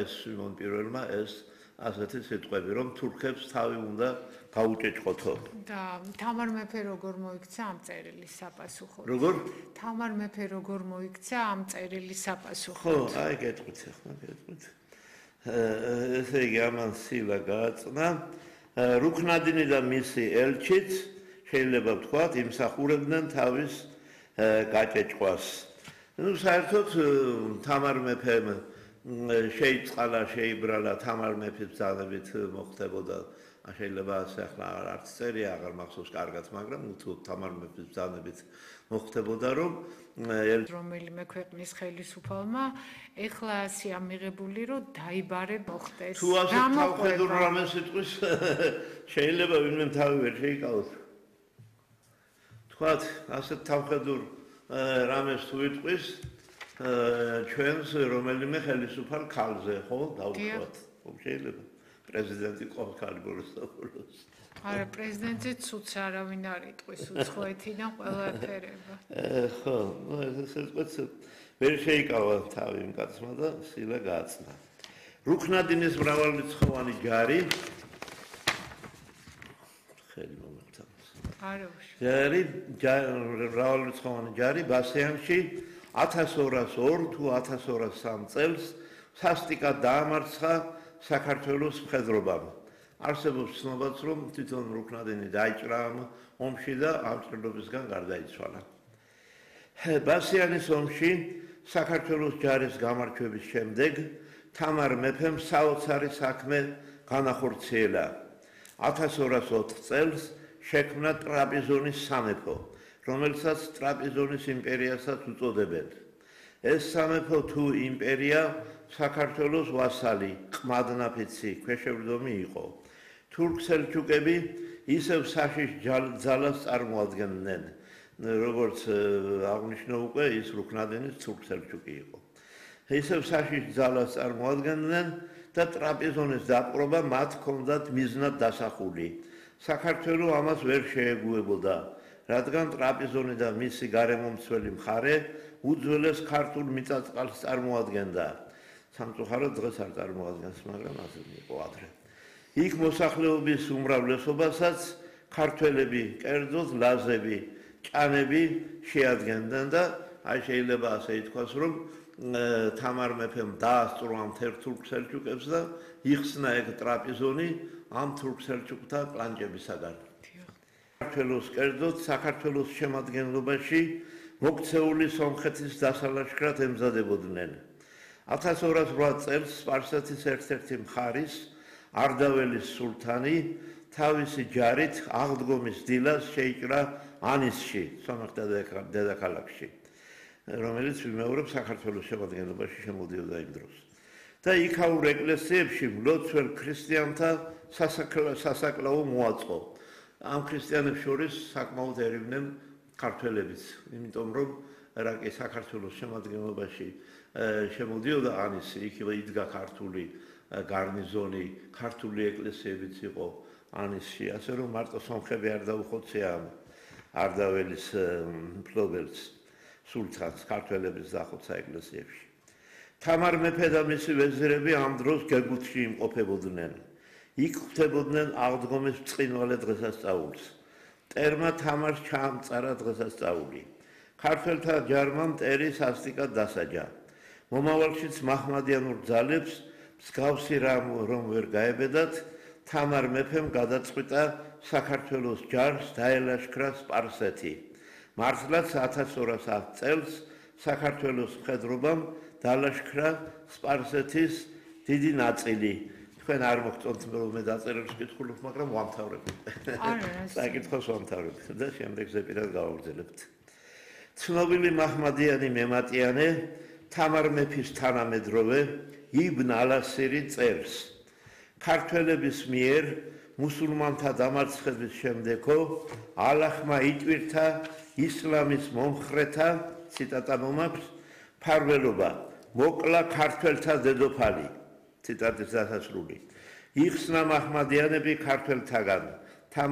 ეს სიმონ პირველმა ეს ასეთი სიტყვები, რომ თურქებს თავი უნდა გაუჭეჭყოთო. და თამარ მეფე როგორ მოიქცა ამ წერილის საპასუხოდ? როგორ? თამარ მეფე როგორ მოიქცა ამ წერილის საპასუხოდ? ხო, აი გეტყვით ახლა, გეტყვით. ესე იგი ამან სილა გააწნა. რუქნადინი და მისი ელჩიც შეიძლება ვთქვათ, იმსახურებდნენ თავის გაჭეჭყვას. ნუ საერთოდ თამარ მეფემ შეიწყალა, შეიბრალა თამარ მეფის ბრძანებით მოხდებოდა. შეიძლება ასე ახლა არც წერია აღარ მახსოვს კარგად, მაგრამ თუ თამარ მეფის ბრძანებით მოხდებოდა, რომ რომელიმე ქვეყნის ხელისუფალმა ეხლა ასია მიღებული, რომ დაიბარე მოხდეს. თუ ასე თავხედურ რამე სიტყვის შეიძლება ვინმე თავი ვერ შეიკავოს. თქვათ, ასე თავხედურ რამეს თუ იტყვის ჩვენს რომელიმე ხელისუფალ ქალზე, ხო, დავუშვათ. ხო, შეიძლება პრეზიდენტი ყოველქალი ბოლოს. არა, პრეზიდენტზე ცუც არავინ არ იტყვის, უცხოეთიდან ყველა ეფერება. ხო, ნუ ეს სიტყვაც ვერ შეიკავა თავი იმ კაცმა და სილა გააწნა. რუქნადინის მრავალრიცხოვანი ჯარი ხელი მომეწამს. არა, მრავალრიცხოვანი ჯარი ბასიანში 1202 თუ 1203 წელს სასტიკად დაამარცხა საქართველოს მხედრობამ. არსებობს ცნობაც, რომ თვითონ რუქნადინი დაიჭრა ამ ომში და ამ ჭრილობისგან გარდაიცვალა. ბასიანის ომში საქართველოს ჯარის გამარჯვების შემდეგ თამარ მეფემ საოცარი საქმე განახორციელა. 1204 წელს შექმნა ტრაპიზონის სამეფო, რომელსაც ტრაპიზონის იმპერიასაც უწოდებენ. ეს სამეფო თუ იმპერია საქართველოს ვასალი, ყმადნაფიცი, ქვეშევრდომი იყო. თურქ-სელჩუკები ისევ საშიშ ძალას წარმოადგენდნენ, როგორც აღნიშნო უკვე ის რუქნადინის თურქ-სელჩუკი იყო. ისევ საშიშ ძალას წარმოადგენდნენ და ტრაპიზონის დაპყრობა მათ ჰქონდათ მიზნად დასახული. საქართველო ამას ვერ შეეგუებოდა, რადგან ტრაპიზონი და მისი გარემომცველი მხარე უძველეს ქართულ მიწა-წყალს წარმოადგენდა. სამწუხაროდ დღეს არ წარმოადგენს, მაგრამ ასე იყო ადრე. იქ მოსახლეობის უმრავლესობასაც ქართველები, კერძოდ ლაზები, ჭანები შეადგენდნენ და აი შეიძლება ასე ითქვას, რომ თამარ მეფემ დაასწრო ამ თურქ-სელჩუკებს და იხსნა ეგ ტრაპიზონი ამ თურქ-სელჩუკთა კლანჭებისაგან. საქართველოს კერძოდ საქართველოს შემადგენლობაში მოქცეული სომხეთის დასალაშქრად ემზადებოდნენ. 1208 წელს სპარსეთის ერთ-ერთი მხარის არდაველის სულთანი თავისი ჯარით აღდგომის დილას შეიჭრა ანისში, სომეხთა დედაქალაქში, რომელიც ვიმეორებ საქართველოს შემადგენლობაში შემოდიოდა იმ დროს. და იქაურ ეკლესიებში მლოცველ ქრისტიანთა სასაკლაო მოაწყო. ამ ქრისტიანებს შორის საკმაოდ ერივნენ ქართველებიც, იმიტომ რომ რაკი საქართველოს შემადგენლობაში შემოდიოდა ანისი, იქ იდგა ქართული გარნიზონი, ქართული ეკლესიებიც იყო ანისში, ასე რომ მარტო სომხები არ დაუხოცია არდაველის მფლობელს, სულთანს, ქართველების დახოცა ეკლესიებში. თამარ მეფე და მისი ვეზირები ამ დროს გეგუთში იმყოფებოდნენ. იქ ხვდებოდნენ აღდგომის ბრწყინვალე დღესასწაულს. მტერმა თამარს ჩაამწარა დღესასწაული. ქართველთა ჯარმა მტერი სასტიკად დასაჯა. მომავალშიც მაჰმადიანურ ძალებს მსგავსი რომ ვერ გაებედათ, თამარ მეფემ გადაწყვიტა საქართველოს ჯარს დაელაშქრა სპარსეთი. მართლაც 1210 წელს საქართველოს მხედრობამ დალაშქრა სპარსეთის დიდი ნაწილი. თქვენ არ მოგწონთ რომ მე დაწერებს კითხულობ, მაგრამ ვამთავრებ. საკითხოს ვამთავრებ და შემდეგ ზეპირად გავაგრძელებთ. ცნობილი მაჰმადიანი მემატიანე თამარ მეფის თანამედროვე იბნ ალასირი წერს. ქართველების მიერ მუსულმანთა დამარცხების შემდეგო ალაჰმა იტვირთა ისლამის მომხრეთა, ციტატა მომაქვს, ფარველობა, მოკლა ქართველთა დედოფალი. ციტატის დასასრული. იხსნა მაჰმადიანები ქართველთაგან